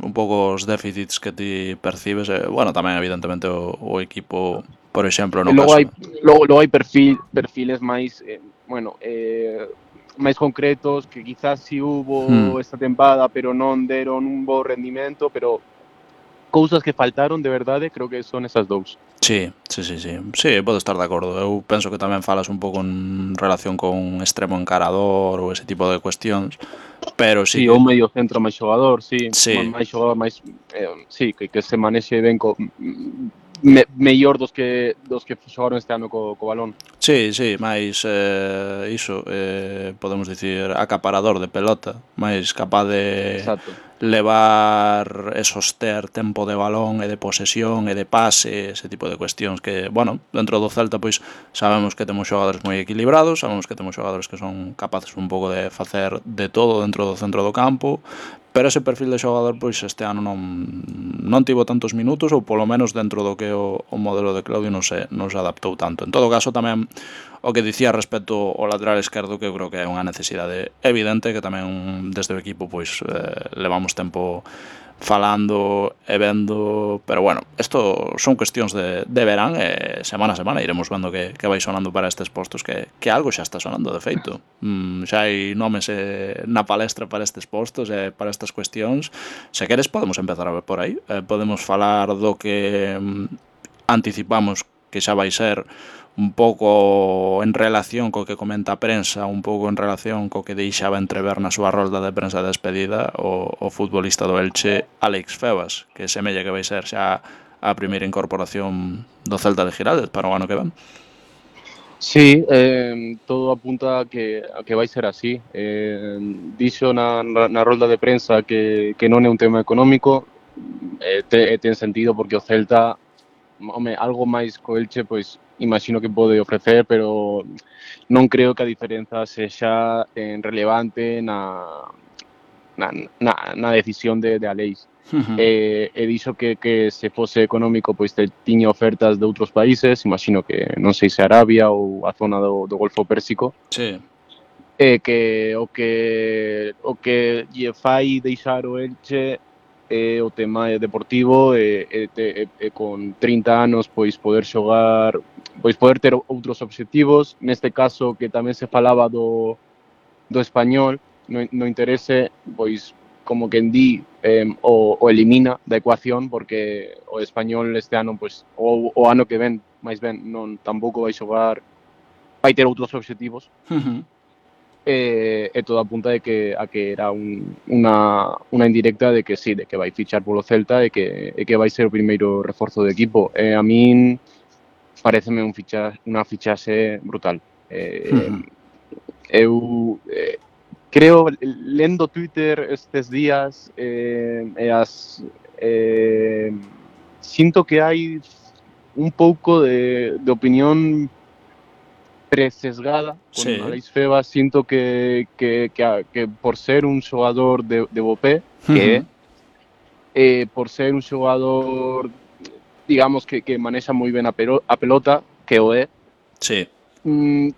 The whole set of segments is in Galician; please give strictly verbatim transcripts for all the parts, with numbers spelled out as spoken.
un pouco os déficits que ti percibes, e, bueno, tamén evidentemente o, o equipo, por exemplo, no E logo caso... hai logo, logo hai perfil, perfiles máis, eh, bueno, eh, máis concretos que quizás si hubo Hmm. esta tempada, pero non deron un bo rendimento, pero cousas que faltaron de verdade, creo que son esas dous. Sí, sí, sí, sí. Sí, podo estar de acordo. Eu penso que tamén falas un pouco en relación con extremo encarador ou ese tipo de cuestións, pero sí Sí, que... ou medio centro máis xogador, sí, Sí, máis xogador máis, eh, sí, que, que se manexe ben co, me, mellor dos que dos que xogaron este ano co, co balón. sí, sí, máis eh, iso, eh, podemos dicir acaparador de pelota, máis capaz de Exacto. levar e soster tempo de balón e de posesión e de pase, ese tipo de cuestións que, bueno, dentro do Celta pois sabemos que temos xogadores moi equilibrados, sabemos que temos xogadores que son capaces un pouco de facer de todo dentro do centro do campo, pero ese perfil de xogador pois este ano non non tivo tantos minutos, ou polo menos dentro do que o, o modelo de Claudio non se, non se adaptou tanto. En todo caso tamén o que dicía respecto ao lateral esquerdo, que eu creo que é unha necesidade evidente, que tamén desde o equipo pois eh, levamos tempo falando e vendo, pero bueno, isto son cuestións de, de verán e semana a semana iremos vendo que, que vai sonando para estes postos, que, que algo xa está sonando de feito. Mm, xa hai nomes eh, na palestra para estes postos e para estas cuestións. Se queres podemos empezar a ver por aí, eh, podemos falar do que mm, anticipamos que xa vai ser un pouco en relación co que comenta a prensa, un pouco en relación co que deixaba entrever na súa rolda de prensa de despedida o, o futbolista do Elche, Alex Febas, que semella que vai ser xa a primeira incorporación do Celta de Giraldez para o ano que ven. Sí, eh, todo apunta a que, a que vai ser así. Eh, dixo na, na rolda de prensa que, que non é un tema económico, eh, te, ten sentido porque o Celta, home, algo máis co Elche, pois imagino que pode ofrecer, pero non creo que a diferenza sexa en relevante na, na, na, na decisión de, de Aleix. Uh-huh. E, e dixo que, que se fose económico pois te, tiña ofertas de outros países, imagino que non sei se Arabia ou a zona do, do Golfo Pérsico. Sí. E que o que o que lle fai deixar o Elche é o tema deportivo e, e, e, e con trinta anos pois poder xogar, pois poder ter outros obxectivos, neste caso que tamén se falaba do, do Español, no, no interese, pois como quen di, eh, o, o elimina da ecuación porque o Español este ano, pois o, o ano que ven, máis ben, non tampouco vai xogar, vai ter outros obxectivos. Uh-huh. E, e todo apunta de que, a que era un, unha, unha indirecta de que sí, de que vai fichar polo Celta e que, e que vai ser o primeiro reforzo do equipo. E a min pareceme un ficha, unha fichaxe brutal. Eh, Uh-huh. Eu eh, creo, lendo Twitter estes días, eh, e as eh, sinto que hai un pouco de, de opinión presesgada con Sí. Alex Febas, sinto que, que, que, que por ser un xogador de, de Bopé, que é, Uh-huh. eh, por ser un xogador, digamos, que, que manexa moi ben a, pero, a pelota, que o é, Sí. mm,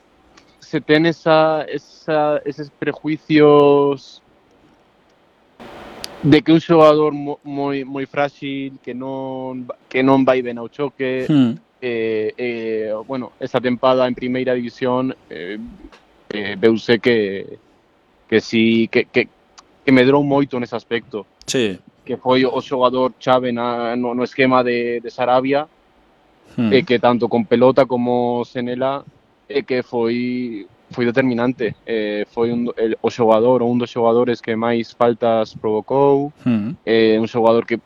se ten esa, esa, eses prejuicios de que un xogador moi moi frágil, que non que non vai ben ao choque, Uh-huh. eh, eh, bueno, esa tempada en primeira división eh, eh, veuse que que si que, que, que medrou moito nese aspecto. Sí. Que foi o xogador chave na, no, no esquema de, de Sarabia, Uh-huh. e que tanto con pelota como sen ela, e que foi foi determinante. Eh, foi un, el, o xogador ou un dos xogadores que máis faltas provocou, Uh-huh. eh, un xogador que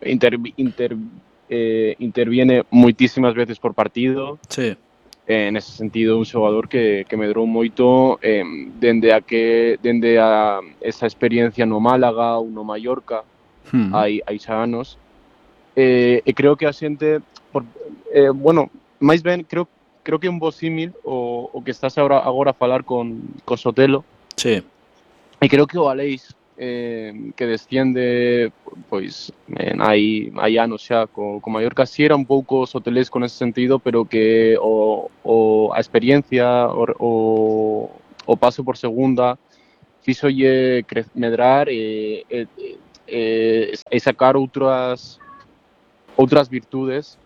inter, inter, eh, interviene moitísimas veces por partido. Sí. Eh, nese sentido, un xogador que, que medrou moito eh, dende a que dende a esa experiencia no Málaga ou no Mallorca, uh-huh. hai, hai xa anos. Eh, e creo que a xente, por, eh, bueno, máis ben, creo creo que é un bo símil o, o que estás agora, agora a falar con, con Sotelo. Sí. E creo que o Aleix, eh, que desciende, pois, en, hai, hai anos xa, co, co Mallorca, si era un pouco sotelesco nese sentido, pero que o, o, a experiencia, o, o, o paso por segunda, fixolle medrar e, e, e, e sacar outras outras virtudes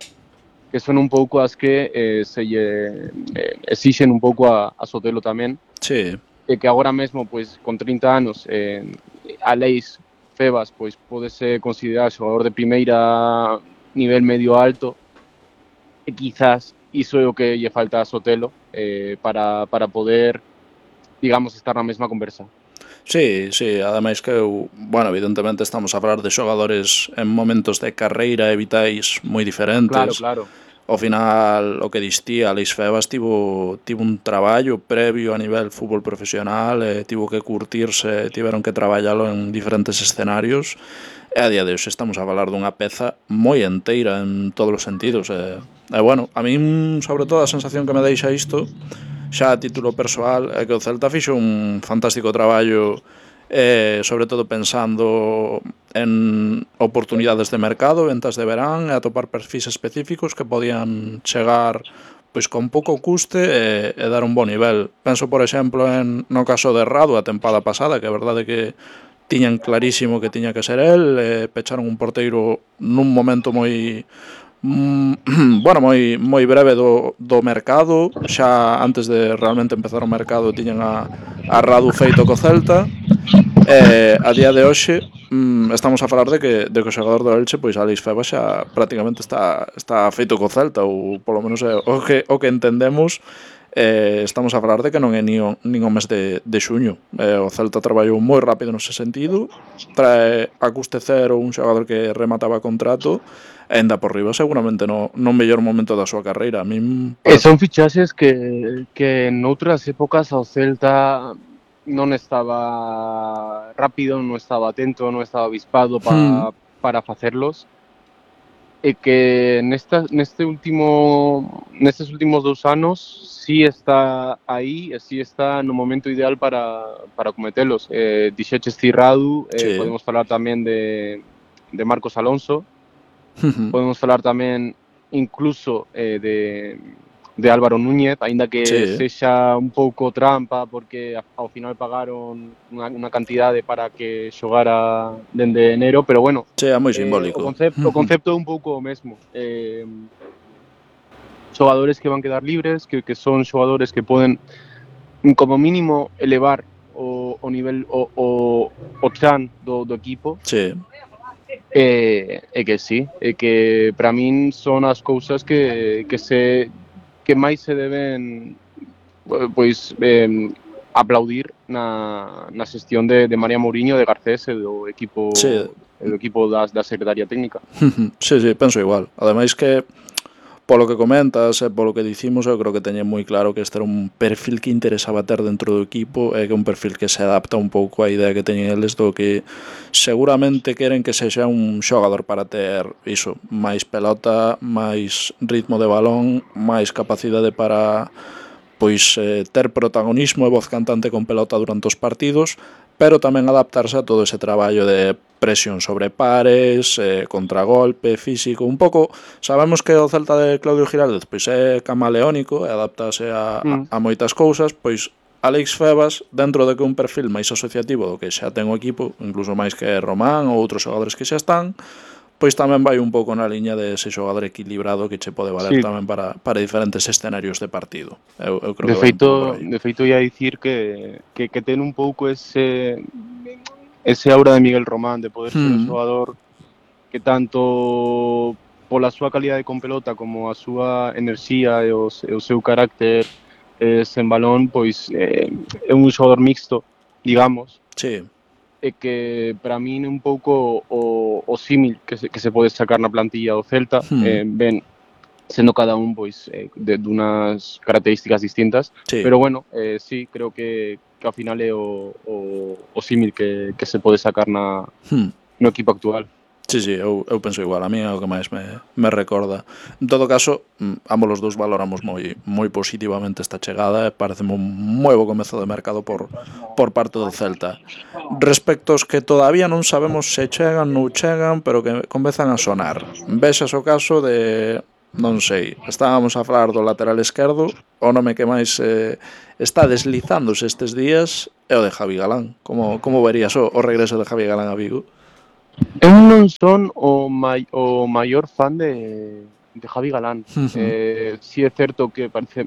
que son un pouco as que eh, se lle eh, exixen un pouco a, a Sotelo tamén. Sí. E que agora mesmo, pois, con trinta anos, eh, a Leis Febas, pois, podese considerar xogador de primeira nivel medio alto, e quizás iso é o que lle falta a Sotelo eh, para, para poder, digamos, estar na mesma conversa. Sí, sí, ademais que eu, bueno, evidentemente estamos a falar de xogadores en momentos de carreira e vitais moi diferentes. Claro, claro. Ao final, o que distía, Alex Febas tivo, tivo un traballo previo a nivel fútbol profesional, e tivo que curtirse, tiveron que traballalo en diferentes escenarios, e a día de hoxe estamos a falar dunha peza moi enteira en todos os sentidos. E, e bueno, a min, sobre todo, a sensación que me deixa isto, xa a título persoal, é que o Celta fixo un fantástico traballo, eh, sobre todo pensando en oportunidades de mercado, ventas de verán, e atopar perfis específicos que podían chegar pois con pouco custe e, e dar un bo nivel. Penso, por exemplo, en no caso de Radu a tempada pasada, que é verdade que tiñan clarísimo que tiña que ser el, e pecharon un porteiro nun momento moi Mm, bueno, moi moi breve do, do mercado, xa antes de realmente empezar o mercado tiñan a, a Radu feito co Celta, e a día de hoxe mm, estamos a falar de que, de que o xogador do Elche, pois Alex Febas xa prácticamente está, está feito co Celta, ou polo menos é o que, o que entendemos. Eh, estamos a falar de que non é nin o, nin o mes de, de xuño. Eh, o Celta traballou moi rápido nese sentido, trae a custe cero un xogador que remataba contrato, e ainda por riba seguramente no, no mellor momento da súa carreira. A min E son fichaxes que, que noutras épocas ao Celta non estaba rápido, non estaba atento, non estaba avispado pa, hmm. para facerlos, e que nesta, neste último nestes últimos dous anos sí está aí e sí está no momento ideal para, para cometelos. Eh, dixeches Cirradu, eh, Sí. podemos falar tamén de, de Marcos Alonso, podemos falar tamén incluso eh, de, de Álvaro Núñez, aínda que Sí. sexa un pouco trampa porque ao final pagaron unha, unha cantidade para que xogara dende enero, pero bueno, Sí, é moi eh, simbólico. o concepto, o concepto é un pouco o mesmo. Eh, xogadores que van quedar libres, que, que son xogadores que poden como mínimo elevar o, o nivel o, o, o chan do, do equipo. Sí. E, e que sí, e que para min son as cousas que, que se que máis se deben pois eh, aplaudir na, na xestión de, de María Mourinho, de Garcés e do equipo, Sí. do equipo das, da Secretaría Técnica. Sí, sí, penso igual. Ademais que polo que comentas e polo que dicimos, eu creo que teñen moi claro que este era un perfil que interesaba ter dentro do equipo, e que é un perfil que se adapta un pouco á idea que teñen eles do que seguramente queren que sexa un xogador para ter iso, máis pelota, máis ritmo de balón, máis capacidade para pois eh, ter protagonismo e voz cantante con pelota durante os partidos, pero tamén adaptarse a todo ese traballo de presión sobre pares, eh, contragolpe, físico, un pouco, sabemos que o Celta de Claudio Giraldez pois é camaleónico e adaptase a, mm. a, a moitas cousas, pois Alex Febas, dentro de que un perfil máis asociativo do que xa ten o equipo, incluso máis que Román ou outros xogadores que xa están, pois tamén vai un pouco na liña de ese xogador equilibrado que che pode valer sí. tamén para, para diferentes escenarios de partido. Eu, eu creo de que feito, de feito ia dicir que, que, que ten un pouco ese ese aura de Miguel Román, de poder hmm. ser un xogador que tanto pola súa calidade con pelota como a súa enerxía e o, e o seu carácter eh, sen balón, pois eh, é un xogador mixto, digamos. Sí. E que para min é un pouco o, o símil que se, que se pode sacar na plantilla do Celta, hmm. eh, ben, sendo cada un pois eh, de dunas características distintas, sí. Pero bueno, eh, sí, creo que, que ao final é o, o, o símil que, que se pode sacar na, hmm. no equipo actual. Sí, sí, eu, eu penso igual, a mí é o que máis me, me recorda. En todo caso, ambos os dous valoramos moi moi positivamente esta chegada e parece un moi bo comezo de mercado por, por parte do Celta. Respecto aos que todavía non sabemos se chegan, non chegan, pero que comezan a sonar. Vexas o caso de, non sei, estábamos a falar do lateral esquerdo, o nome que máis eh, está deslizándose estes días é o de Javi Galán. Como, como verías o, o regreso de Javi Galán a Vigo? Eu non son o, mai, o maior fan de, de Javi Galán. Uh -huh. eh, si é certo que parece,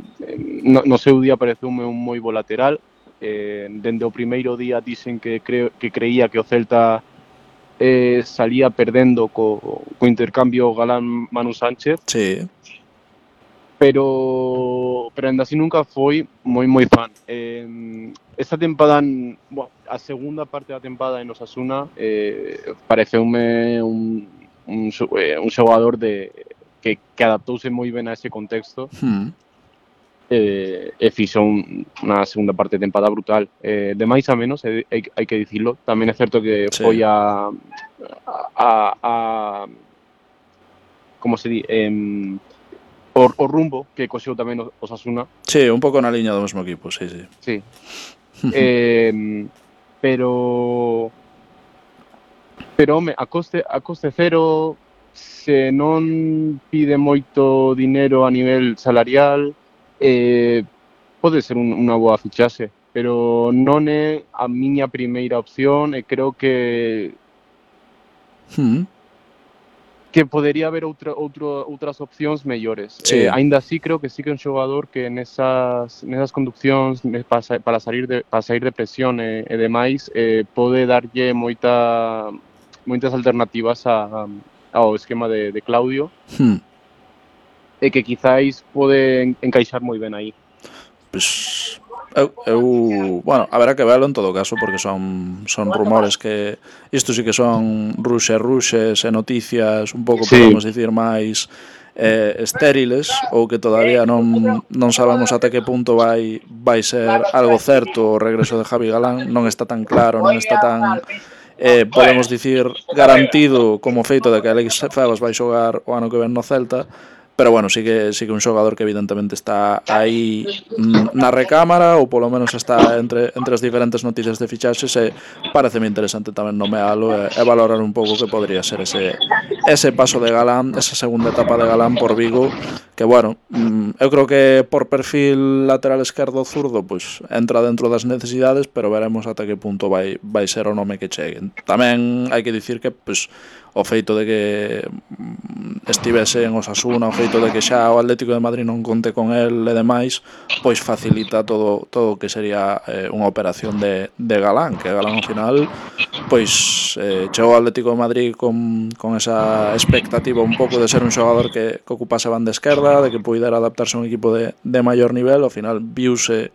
no, no seu día pareceume un moi bo lateral. Eh, dende o primeiro día dicen que, creo, que creía que o Celta eh, salía perdendo co, co intercambio Galán-Manu Sánchez. Sí. Pero, pero ainda así nunca foi moi moi fan. Eh, esta tempada, bueno, a segunda parte da tempada en Osasuna eh, pareceume un, un, un xogador de, que, que adaptouse moi ben a ese contexto. Hmm. eh, e fixo un, unha segunda parte de tempada brutal. Eh, de máis a menos, eh, hai, hai que dicilo. Tamén é certo que Sí. foi a, a, a, a como se di, eh, O, o rumbo que coxeu tamén o Osasuna. Sí, un pouco na liña do mesmo equipo, sí, sí. Sí. eh, pero pero home, a coste a coste cero, se non pide moito dinero a nivel salarial, eh, pode ser un, unha boa fichaxe, pero non é a miña primeira opción e creo que Hmm. que podería haber outra, outro, outras opcións mellores. Sí. Eh, aínda así creo que sí que é un xogador que nesas, nesas conduccións para, para sair de para sair de presión e, e demais eh, pode darlle moita moitas alternativas a, ao esquema de, de Claudio. Hmm. E que quizáis pode encaixar moi ben aí. Pues eu, eu, bueno, haberá que verlo en todo caso, porque son son rumores que isto sí que son ruxe ruxes e noticias un pouco, Sí. podemos dicir, máis eh, estériles, ou que todavía non, non sabemos até que punto vai vai ser algo certo o regreso de Javi Galán. Non está tan claro, non está tan eh, podemos dicir garantido como feito de que Alex Febas vai xogar o ano que ven no Celta. Pero bueno, sí que sí que un xogador que evidentemente está aí na recámara, ou polo menos está entre entre as diferentes noticias de fichaxes, e pareceme interesante tamén nomealo e, e valorar un pouco que podría ser ese ese paso de Galán, esa segunda etapa de Galán por Vigo, que bueno, eu creo que por perfil lateral esquerdo ou zurdo, pois entra dentro das necesidades, pero veremos ata que punto vai vai ser o nome que chegue. Tamén hai que dicir que pois o feito de que estivese en Osasuna, o feito de que xa o Atlético de Madrid non conte con el e demais, pois facilita todo todo o que sería eh, unha operación de, de Galán, que Galán ao final pois eh, chegou ao Atlético de Madrid con, con esa expectativa un pouco de ser un xogador que, que ocupase a banda esquerda, de que poidera adaptarse a un equipo de, de maior nivel. Ao final viuse,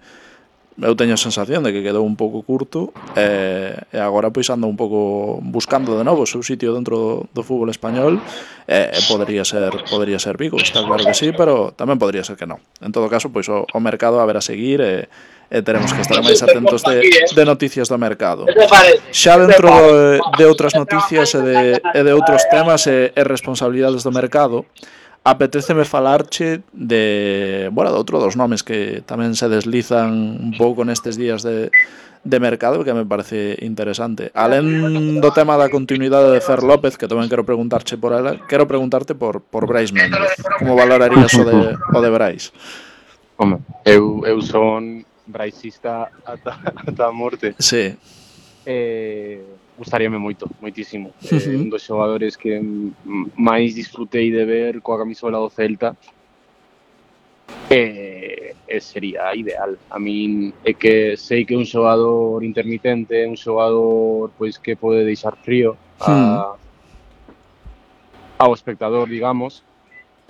eu teño a sensación de que quedou un pouco curto e, e agora pois anda un pouco buscando de novo o seu sitio dentro do, do fútbol español e, e podría ser podría ser Vigo, está claro que sí, pero tamén podría ser que non. En todo caso, pois o, o mercado a ver a seguir e, e teremos que estar máis atentos de, de noticias do mercado. Xa dentro de, de outras noticias e de, e de outros temas e, e responsabilidades do mercado, apetéceme falarche de, bueno, de outro dos nomes que tamén se deslizan un pouco nestes días de, de mercado, que me parece interesante. Alén do tema da continuidade de Fer López, que tamén quero preguntarche por ela, quero preguntarte por, por Brais Méndez. Como valorarías o de, o de Brais? Home, eu, eu son braisista ata, ata a morte. Sí. Eh, gustaríame moito, moitísimo. Uh -huh. eh, un dos xogadores que máis disfrutei de ver coa camisola do Celta. E, e sería ideal. A min é que sei que é un xogador intermitente, un xogador pois que pode deixar frío a, uh -huh. ao espectador, digamos,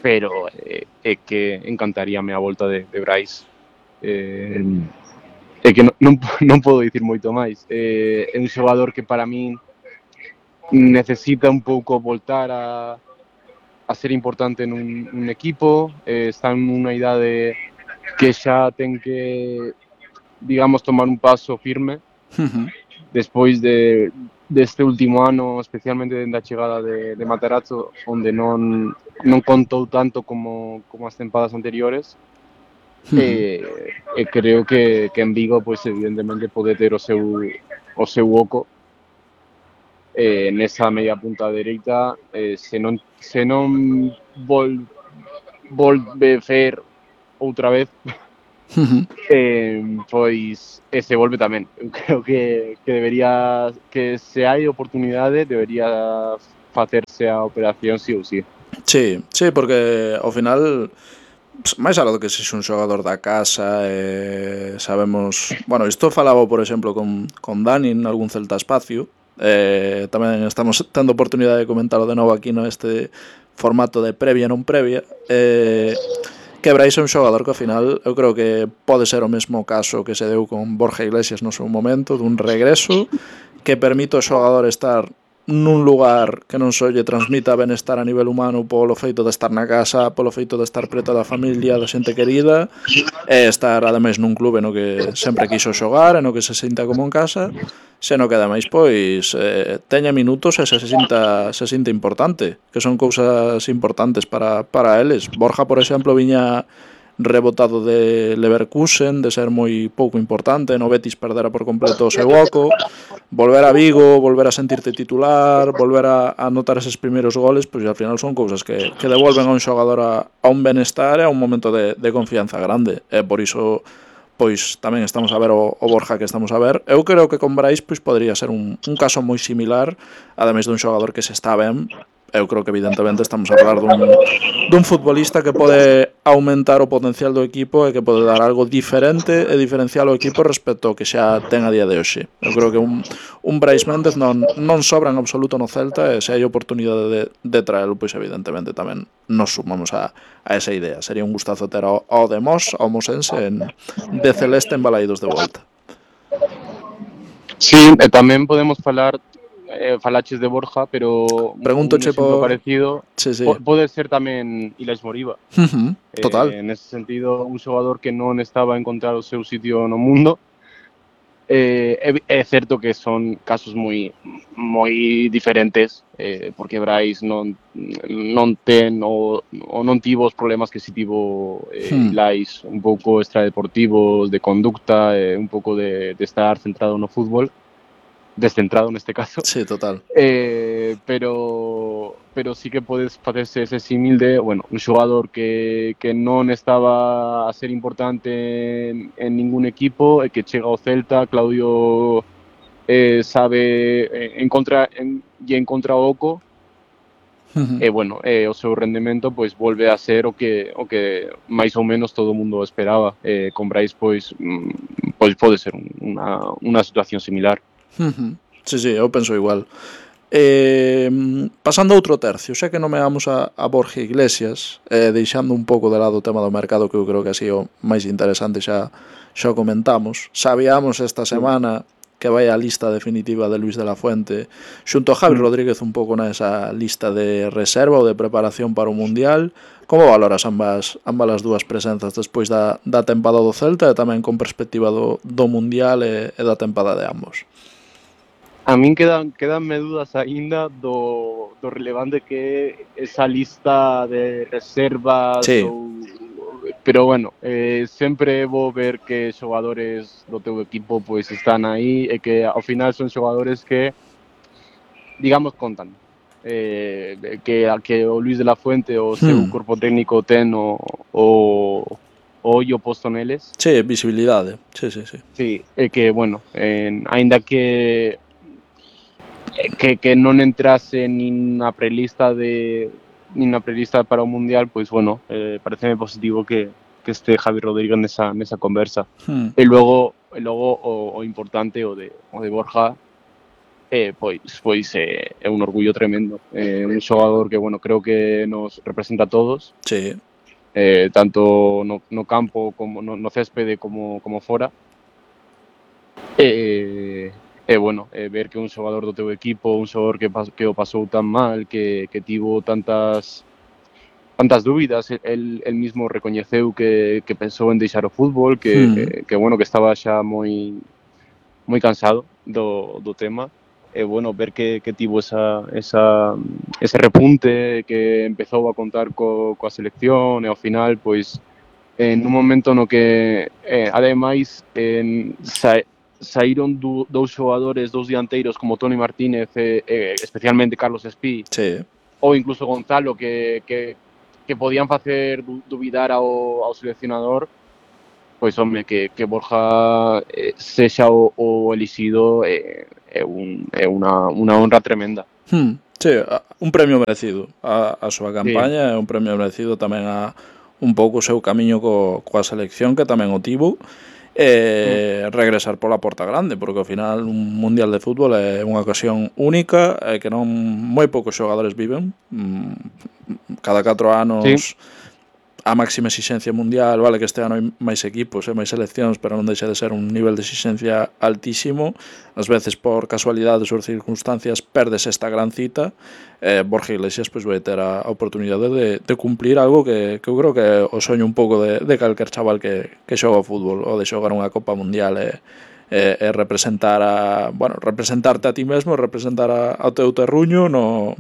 pero é, é que encantaríame a volta de, de Brais. Eh, É que non, non, non podo dicir moito máis. Eh, é un xogador que para min necesita un pouco voltar a, a ser importante nun, nun equipo. Eh, está en unha idade que xa ten que, digamos, tomar un paso firme. Uh-huh. Despois de deste último ano, especialmente dende a chegada de, de Matarazzo, onde non, non contou tanto como, como as tempadas anteriores. Uh -huh. e, e creo que, que en Vigo, pois, evidentemente pode ter o seu o seu oco eh, nesa media punta dereita. Eh, se non se non vol volve fer outra vez Uh-huh. eh, pois e se volve tamén. Eu creo que, que debería, que se hai oportunidade, debería facerse a operación sí ou sí. Sí, sí, porque ao final máis algo que sexe un xogador da casa, eh, sabemos, bueno, isto falaba por exemplo con, con Dani en algún Celta Espacio, eh, tamén estamos tendo oportunidade de comentarlo de novo aquí no este formato de previa non previa, eh, que Brais é un xogador que ao final eu creo que pode ser o mesmo caso que se deu con Borja Iglesias no seu momento, dun regreso que permite ao xogador estar nun lugar que non só lle transmita benestar a nivel humano polo feito de estar na casa, polo feito de estar preto da familia, da xente querida, e estar ademais nun clube no que sempre quiso xogar e no que se sinta como en casa, seno que ademais pois eh, teña minutos e se, se sinta se sinta importante, que son cousas importantes para, para eles. Borja, por exemplo, viña rebotado de Leverkusen, de ser moi pouco importante, no Betis perdera por completo o seu oco, volver a Vigo, volver a sentirte titular, volver a, a notar eses primeiros goles, pois al final son cousas que, que devolven a un xogador a, a un benestar e a un momento de, de confianza grande, e por iso pois tamén estamos a ver o, o Borja que estamos a ver. Eu creo que con Brais pois podría ser un, un caso moi similar, ademais dun xogador que se está ben. Eu creo que evidentemente estamos a falar dun, dun futbolista que pode aumentar o potencial do equipo e que pode dar algo diferente e diferencial ao equipo respecto ao que xa ten a día de hoxe. Eu creo que un, un Brais Méndez non, non sobra en absoluto no Celta, e se hai oportunidade de, de traelo, pois evidentemente tamén nos sumamos a, a esa idea. Sería un gustazo ter ao, ao de Mos, ao mosense en, de Celeste en Balaídos de volta. Sí, e tamén podemos falar, eh, falaches de Borja, pero Pregunto un exemplo por... parecido Sí, sí. po pode ser tamén Ilaix Moriba. Uh-huh. Total. Eh, nese sentido, un xogador que non estaba a encontrar o seu sitio no mundo. Eh, é, é certo que son casos moi moi diferentes, eh, porque Brais non non ten ou, ou non tivo os problemas que si tivo eh, Hmm. Ilaix, un pouco extradeportivos, de conducta, eh, un pouco de, de estar centrado no fútbol, descentrado neste caso. Sí, total. Eh, pero pero sí que podes facerse ese símil de, bueno, un xogador que, que non estaba a ser importante en, en ningún equipo e que chega ao Celta. Claudio eh, sabe eh, encontra, en, e encontra o oco, Uh-huh. e bueno, eh, o seu rendemento pois volve a ser o que o que máis ou menos todo o mundo esperaba. Eh, con Brais pois mm, pois pode ser unha, unha situación similar. Uh-huh. Sí, sí, eu penso igual. Eh, pasando a outro tercio, xa que nomeamos a, a Borja Iglesias, eh, deixando un pouco de lado o tema do mercado, que eu creo que así o máis interesante xa, xa o comentamos. Sabíamos esta semana que vai a lista definitiva de Luis de la Fuente xunto a Javi Rodríguez un pouco nesa lista de reserva ou de preparación para o Mundial. Como valoras ambas, ambas as dúas presenzas despois da, da tempada do Celta e tamén con perspectiva do, do Mundial e, e da tempada de ambos? A min quedan, quedanme dudas aínda do, do relevante que é esa lista de reservas. Sí. Ou, pero bueno, eh, sempre vou ver que xogadores do teu equipo pois están aí e que ao final son xogadores que, digamos, contan. Eh, que, que o Luis de la Fuente o seu Hmm. corpo técnico ten o, o, o ollo posto neles. Sí, visibilidade. Sí, sí, sí. Sí, e que, bueno, en, aínda que que, que non entrase nin na prelista de nin na prelista para o Mundial, pois bueno, eh, pareceme positivo que, que este Javi Rodríguez nesa, nesa conversa. Hmm. E logo, e logo o, o importante, o de, o de Borja, eh, pois, pois eh, é un orgullo tremendo. Eh, un xogador que, bueno, creo que nos representa a todos, Sí. eh, tanto no, no campo, como no, no céspede, como, como fora. Eh, E, bueno, eh, ver que un xogador do teu equipo, un xogador que, pas, que o pasou tan mal, que, que tivo tantas tantas dúbidas, el, el mismo recoñeceu que, que pensou en deixar o fútbol, que, Hmm. eh, que bueno, que estaba xa moi moi cansado do, do tema. E, bueno, ver que, que tivo esa, esa, ese repunte, que empezou a contar co, coa selección, e ao final, pois, en un momento no que, eh, ademais, en, sa, saíron du, dous xogadores, dous dianteiros como Toni Martínez e, e especialmente Carlos Espí, Sí. ou incluso Gonzalo, que, que, que podían facer du, dubidar ao, ao seleccionador. pois home, que, que Borja eh, sexa o, o elixido é, é, un, é unha, unha honra tremenda. Hmm, sí, un premio merecido a, a súa Sí. campaña é un premio merecido tamén a un pouco o seu camiño co, coa selección que tamén o tivo Mm. e regresar pola porta grande porque ao final un mundial de fútbol é unha ocasión única e que non moi poucos xogadores viven cada catro Sí. anos a máxima exixencia mundial, vale que este ano hai máis equipos e máis seleccións, pero non deixa de ser un nivel de exixencia altísimo. Ás veces por casualidades ou circunstancias perdes esta gran cita. Eh, Borja Iglesias pois vai ter a oportunidade de, de cumplir algo que, que eu creo que o soño un pouco de, de calquer chaval que, que xoga o fútbol ou de xogar unha Copa Mundial e, e, e representar a, bueno, representarte a ti mesmo, representar a, ao teu terruño no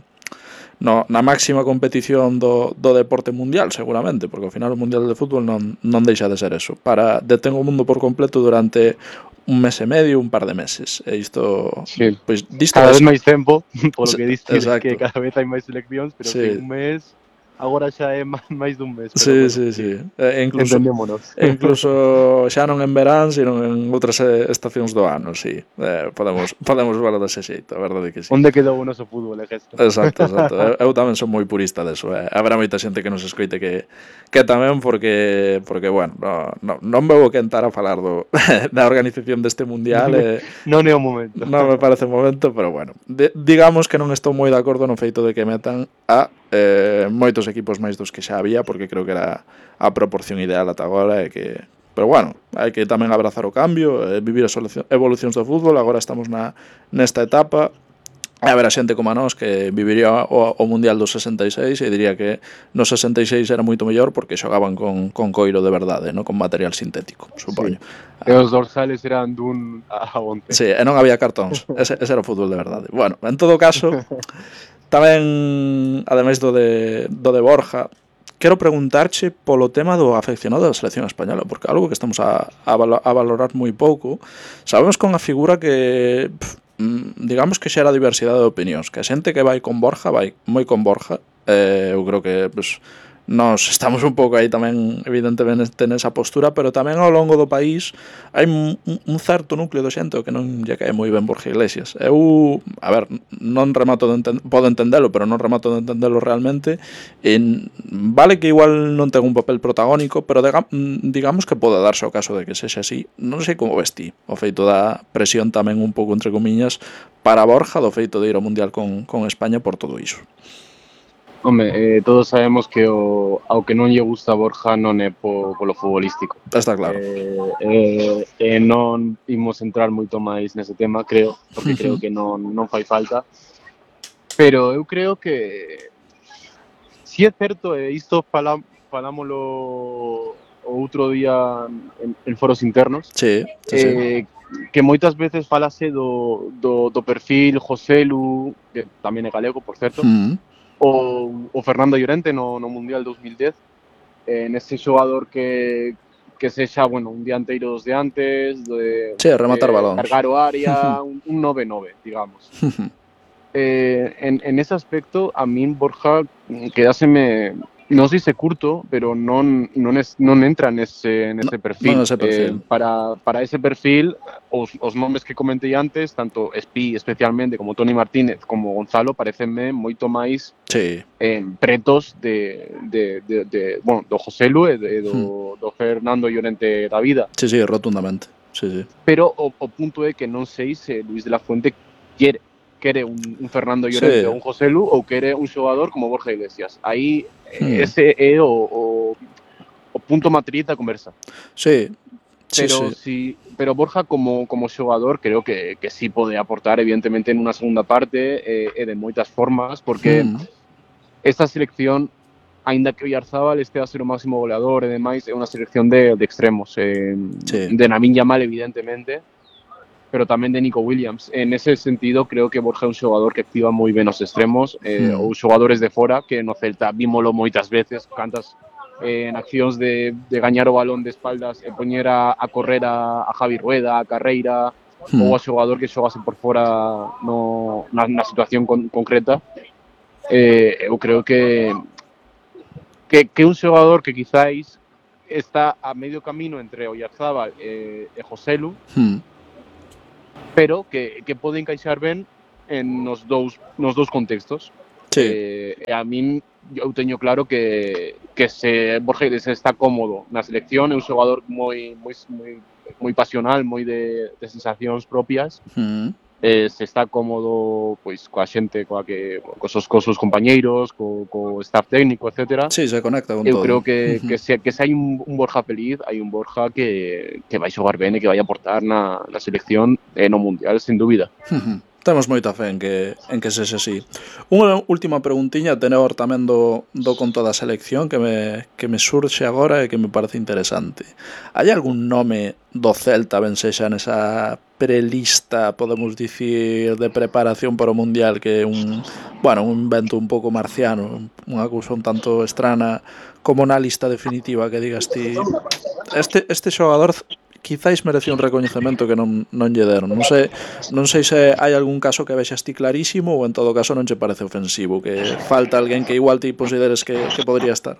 No, na máxima competición do, do deporte mundial, seguramente, porque ao final o mundial de fútbol non, non deixa de ser eso. Para detén o mundo por completo durante un mes e medio, un par de meses. E isto, Sí. pois, disto Cada vai... vez máis tempo, polo que diste que Exacto. cada vez hai máis seleccións, pero sí, Sí. un mes, agora xa é máis dun mes, pero Sí, bueno, sí, sí, sí. E incluso, entendémonos. e incluso xa non en verán, sino en outras estacións do ano, sí. Eh, podemos, podemos verlo dese xeito, a verdade que sí. Onde quedou o noso fútbol, é gesto. Exacto, exacto. Eu, eu tamén son moi purista deso. Eh. Habrá moita xente que nos escoite que, que tamén porque, porque bueno, no, no, non me vou quentar a falar do, da organización deste mundial. Eh, non é o momento. Non me parece o momento, pero bueno. De, digamos que non estou moi de acordo no feito de que metan a eh, moitos equipos máis dos que xa había, porque creo que era a proporción ideal ata agora e que... Pero bueno, hai que tamén abrazar o cambio, eh, vivir as evolucións do fútbol. Agora estamos na, nesta etapa. E haberá xente como a nós que viviría o, o Mundial do sesenta e seis e diría que no sesenta e seis era moito mellor porque xogaban con, con coiro de verdade, no? Con material sintético, supoño. Sí. E os dorsales eran dun a once. Sí, e non había cartóns, ese, ese era o fútbol de verdade. Bueno, en todo caso, tamén, ademais do de, do de Borja, quero preguntarche polo tema do afeccionado da selección española, porque algo que estamos a, a, a valorar moi pouco. Sabemos que é unha figura que... Pff, digamos que xera diversidade de opinións, que a xente que vai con Borja vai moi con Borja. Eh, eu creo que pues, nós estamos un pouco aí tamén evidentemente nesa postura, pero tamén ao longo do país hai un, un certo núcleo de xente que non lle cae moi ben Borja Iglesias. Eu, a ver, non remato de enten- podo entendelo, pero non remato de entendelo realmente. E vale que igual non ten un papel protagónico, pero diga, digamos que pode darse o caso de que sexa así. Non sei como ves ti o feito da presión tamén un pouco entre comiñas para Borja do feito de ir ao Mundial con, con España por todo iso. Home, eh, todos sabemos que o, ao que non lle gusta a Borja non é po, polo futbolístico. Está claro. Eh, eh, eh, non imos entrar moito máis nese tema, creo, porque creo que non, non fai falta. Pero eu creo que si é certo, e isto fala, falámolo o outro día en, en foros internos, sí, sí, eh, sí. que moitas veces falase do, do, do perfil Joselu, que tamén é galego, por certo, mm. O, o Fernando Llorente no, no Mundial dos mil dez, eh, nese xogador que que sexa, bueno, un dianteiro dos de antes, de, sí, rematar de balóns, cargar o área, un, un nove nove, digamos. eh, en, en ese aspecto, a min Borja quedáseme, non sei se curto, pero non, non, es, non entra nese, nese perfil. Non ese perfil. Eh, para, para ese perfil, os, os nomes que comentei antes, tanto Espi especialmente, como Toni Martínez, como Gonzalo, parecenme moito máis sí. eh, pretos de, de, de, de, bueno, do Joselu e de, do, do Fernando Llorente da vida. Sí, sí, rotundamente. Sí, sí. Pero o, o punto é que non sei se Luis de la Fuente quere quere un, un Fernando Llorente sí. ou un Joselu ou quere un xogador como Borja Iglesias. Aí hmm. ese é o, o, o punto matriz da conversa. Sí. Pero sí, sí. Si, pero Borja como, como xogador creo que, que sí pode aportar evidentemente en unha segunda parte e, e de moitas formas, porque hmm. esta selección, aínda que Oyarzabal este a ser o máximo goleador e demais, é unha selección de, de extremos, eh, sí. de Lamine Yamal evidentemente, pero tamén de Nico Williams. En ese sentido, creo que Borja é un xogador que activa moi ben os extremos, eh, mm. ou xogadores de fora, que no Celta vímolo moitas veces, cantas eh, en accións de, de gañar o balón de espaldas e poñer a, a correr a, a Javi Rueda, a Carreira, mm. ou a xogador que xogase por fora no, na, na situación con, concreta. Eh, eu creo que, que, que un xogador que quizáis está a medio camino entre Oyarzábal e, e Joselu, Hmm. pero que, que pode encaixar ben en nos dous, nos dous contextos. Sí. Eh, e a min, eu teño claro que, que se Borja Iglesias está cómodo na selección, é un xogador moi, moi, moi, moi pasional, moi de, de sensacións propias, Hmm. eh, se está cómodo pois coa xente, coa que, cos seus, cos seus compañeiros, co, co staff técnico, etcétera. Sí, se conecta con Eu todo. creo que, Uh-huh. que, se, que se hai un, un Borja feliz, hai un Borja que, que vai xogar ben e que vai aportar na, na selección e no Mundial, sin dúbida. Uh-huh. Temos moita fe en que, en que sexe así. Unha última preguntiña tenor tamén do, do conto da selección que me, que me surxe agora e que me parece interesante. Hai algún nome do Celta ben sexa nesa prelista, podemos dicir, de preparación para o Mundial, que é un, bueno, un invento un pouco marciano, unha cousa un tanto estrana, como na lista definitiva que digas ti, este, este xogador quizáis merecía un recoñecemento que non, non lle deron. Non sei, non sei se hai algún caso que vexas ti clarísimo ou en todo caso non che parece ofensivo, que falta alguén que igual ti consideres que, que podría estar.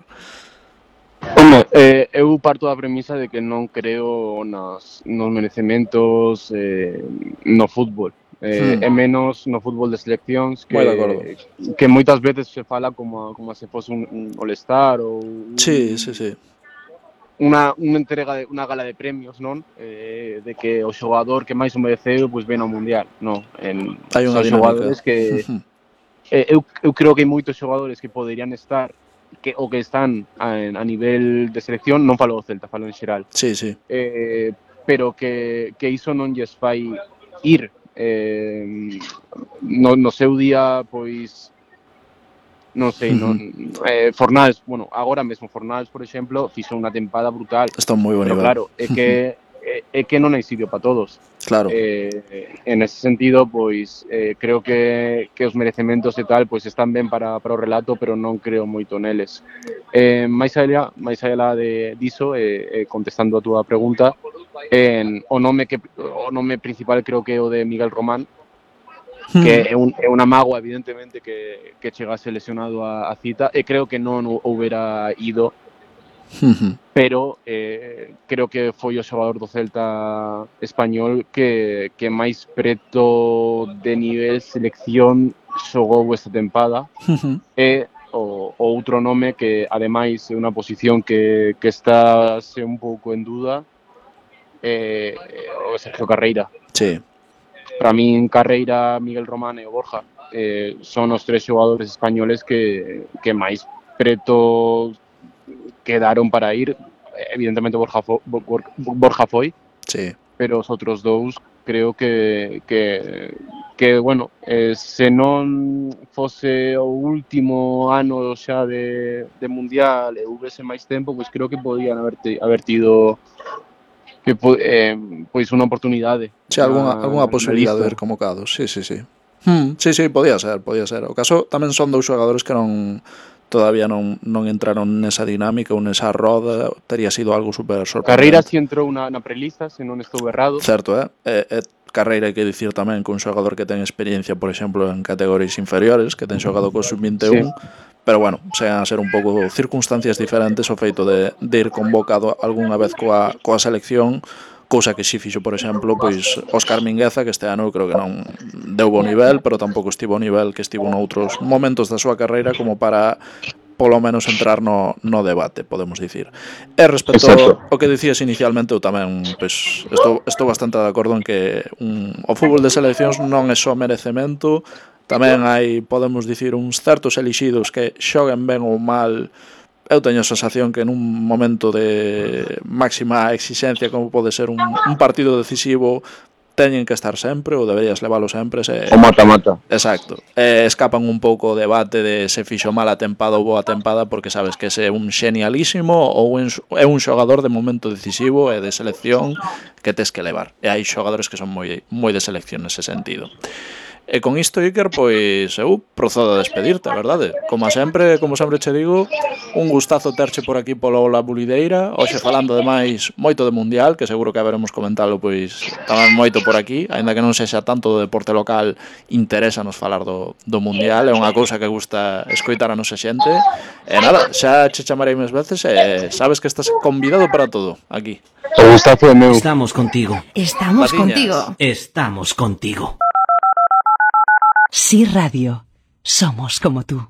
Home, eh, eu parto da premisa de que non creo nas, nos merecementos eh, no fútbol. Eh, Hmm. é menos no fútbol de seleccións que, Moi de acordo. que moitas veces se fala como, como se fose un, un All-Star ou un, Sí, sí, sí. Unha, unha entrega de unha gala de premios, non? Eh, de que o xogador que máis o mereceu pois ven ao Mundial, non? En, Hai unha son dinámica. xogadores que eh, eu, eu creo que hai moitos xogadores que poderían estar que o que están a, a nivel de selección, non falo do Celta, falo en xeral. Sí, sí. Eh, pero que, que iso non lles fai ir eh, no, no seu día, pois non sei, non, eh, Fornals, bueno, agora mesmo Fornals, por exemplo, fixo unha tempada brutal. Está moi bon pero nivel. claro, é que é, é que non hai sitio para todos. Claro. Eh, en ese sentido, pois eh, creo que, que os merecementos e tal pois están ben para, para o relato, pero non creo moito neles. Eh, máis allá, máis allá de diso, eh, eh, contestando a túa pregunta, en, o nome que o nome principal creo que é o de Miguel Román, que é, un, é unha mágoa evidentemente que, que chegase lesionado a, a cita e creo que non houbera ido, pero eh, creo que foi o xogador do Celta español que, que máis preto de nivel selección xogou esta tempada. E o, o outro nome que ademais é unha posición que, que está se un pouco en duda é o Sergio Carreira. Sí. Para min Carreira, Miguel Román e o Borja eh, son os tres xogadores españoles que, que máis preto quedaron para ir. Evidentemente Borja, fo, Borja foi, sí. pero os outros dous creo que, que, que bueno, eh, se non fose o último ano xa de, de Mundial e houvese máis tempo, pois creo que podían haber, haber tido que eh, pois unha oportunidade. Sí, algunha, algunha posibilidade de ver convocados. Sí, sí, sí. Hmm, sí, sí, podía ser, podía ser. O caso tamén son dous xogadores que non todavía non, non entraron nesa dinámica ou nesa roda, tería sido algo super sorprendente. Carreira si entrou na, na prelista, se non estou errado. Certo, eh? E, e Carreira, hai que dicir tamén que un xogador que ten experiencia, por exemplo, en categorías inferiores, que ten xogado co sub vinte e un, sí. Pero bueno, sean a ser un pouco circunstancias diferentes o feito de, de ir convocado algunha vez coa, coa selección, cousa que si fixo, por exemplo, pois Óscar Mingueza, que este ano creo que non deu bo nivel, pero tampouco estivo ao nivel que estivo noutros momentos da súa carreira como para polo menos entrar no, no debate, podemos dicir. E respecto ao, ao que dicías inicialmente, eu tamén pois, estou, estou bastante de acordo en que un, o fútbol de seleccións non é só merecemento, tamén hai, podemos dicir, uns certos elixidos que xoguen ben ou mal. Eu teño a sensación que nun momento de máxima exigencia como pode ser un, un partido decisivo teñen que estar sempre ou deberías leválo sempre se... o mata-mata. Exacto. E escapan un pouco o debate de se fixo mala tempada ou boa tempada porque sabes que se é un xenialísimo ou é un xogador de momento decisivo e de selección que tes que levar. E hai xogadores que son moi, moi de selección nese sentido. E con isto, Iker, pois eu procedo a despedirte, a verdade. Como sempre, como sempre che digo, un gustazo terche por aquí polo La Bulideira, hoxe falando ademais moito de Mundial, que seguro que haberemos comentalo pois tamén moito por aquí, aínda que non sexa tanto do deporte local, interésanos falar do, do Mundial, é unha cousa que gusta escoitar a nosa xente. E nada, xa che chamarei máis veces e sabes que estás convidado para todo, aquí. O gustazo é meu. Estamos contigo. Estamos Patiñas. contigo. Estamos contigo. Sí Radio. Somos como tú.